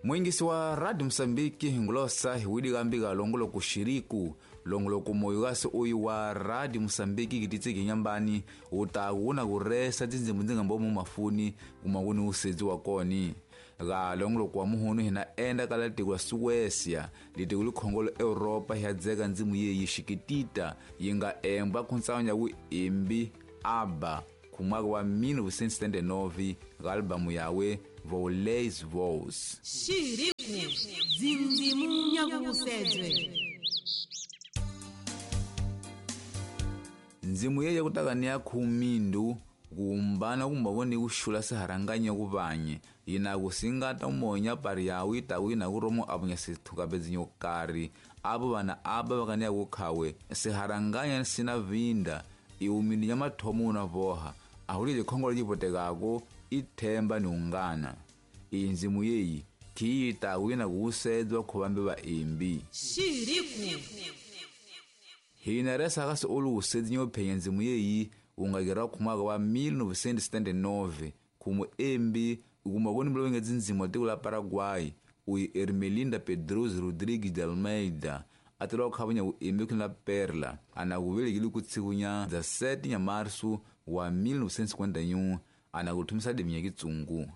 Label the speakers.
Speaker 1: Mwingisi wa Radio Mosambiki ngulosa hiwidi kambika longoloko xiriku longoloko moyo kasi uyu wa Radio Mosambiki kititsiki nyambani utaku una kuresa tindzimbu ndzi nga mbomo mafuni kuma kuni usedzi wa koni ga longoloko wa muhunu hina enda kala tiko la Suécia litiko likhongolo Europa hiadzeka ndzimu yeyi xikitita yi nga embwa khuntsawu ya vuimbi ABBA kumwaka wa 1979 ga albamu yawe Voleis Vows.
Speaker 2: Xiriku dzindzimu nyakusedzwe.
Speaker 1: Ndzimu yeye kutaka ni ya khumindu kuumbana kumbavoni kuxula siharanganya kuvanye yina kusingata umonya pari yawe itaku yina kuromo apunya sithukapedzinyo kari apo vana aba vakaniya kukhawe siharanganya sina vinda iumindu nya mathomo una voha ahuli likhongolo lipotekako ithemba ni ungana iyi ndzimu yeyi khiyi itaku yina kuusedzwa khuvambe vaimbi.
Speaker 2: Xiriku
Speaker 1: hina resa kasi olu usedzi nyophenya ndzimu yeyi ungakera khumaka wa 1979 khumu embi kuma koni mlowenge dzindzimu tiko la Paraguay uyi Ermelinda Pedroso Rodrigues de Almeida atela khavunya uembi khina la Perla ana kuvelekile kutsikunya dza 7 nya marsu wa 1951 ana kuthumisa deminya kitsungu.